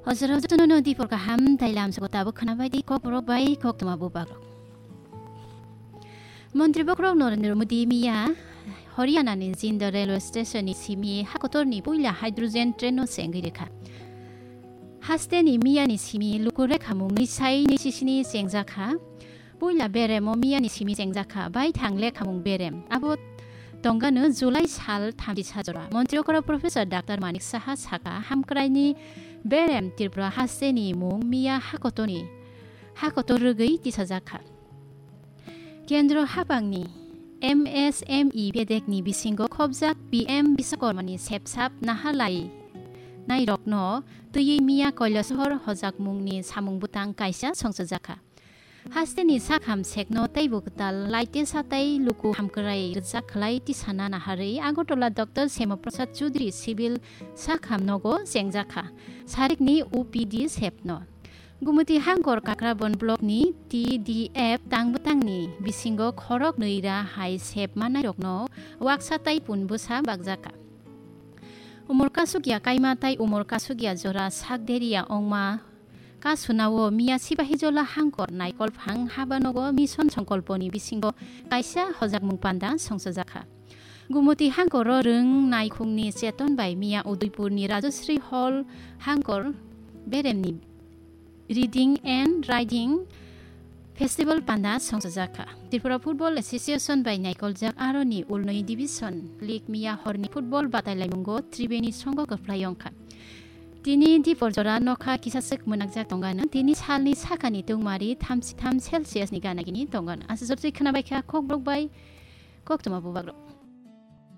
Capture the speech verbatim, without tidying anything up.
Hojaro jotono no dipor kaham tei lamsoko tabuk khwnabai di kokborok bai koktwma bubagrok. Montri bokhorok Narendra Modi miya Haryana ni Jindal railway station ni simi hakotor ni puila hydrogen train no chengwi rwkha. Haste ni miya ni simi luku rekhamung ni sai ni sisini chengjakha. Puila berem o miya ni simi chengjakha, bai thang lekhamung berem. Abo tongano July sal thamchi sajora. Montri okora Professor Doctor Manik Saha saka, hamkrai ni berem Tripura haste ni mung miya hakotor ni, hakotor rwgwi tisajakha. Kendro hapang ni M S M E bedek ni bisingo khobjak P M Biswakarma ni sepsap nahalai nairokno twiwi miya Kailasahar hojakmung ni samung bwtang kaisa songchajakha. Haste ni sakham sekno teibo kwtal laite satai luku hamkrai rwjak khlai tisana naharwi Agartala Doctor Shyama Prasad Choudhury Civil sakham nogo chengjakha. Sarik ni O P D sepno. Gumoti Hangkor Kakrabon Block ni T D F tang bwtang ni bisingo khorok nwi ra hai sep manai rokno waksa tai pun bwsa bakjakha. Umor kasukya kaima tai umor kasukya jora sak deria ongma kasunao miya Sipahijola Hangkor Naikol Phang habanogo Mission Songkolpo ni bisingo kaisa hojakmung panda songchajakha. Gumoti Hangkoro rwng naikhungni cheton bai miya Udaipur ni Rajasri Hall Hangkor beremni Reading and Writing Festival panda songchajakha. Tripura Football Association bai naikoljak aroni ulnwi Division League miya horni football batailaimungo Tribeni songo kwphlai wngkha. Tini dipor jora nokha kisaswk mwnakjak tongano, tini salni sakani tungmari thamchi tham Celsius ni ganagini tongano. Aswk jortwi khwnabaikha kokborok bai koktwma bubagrok.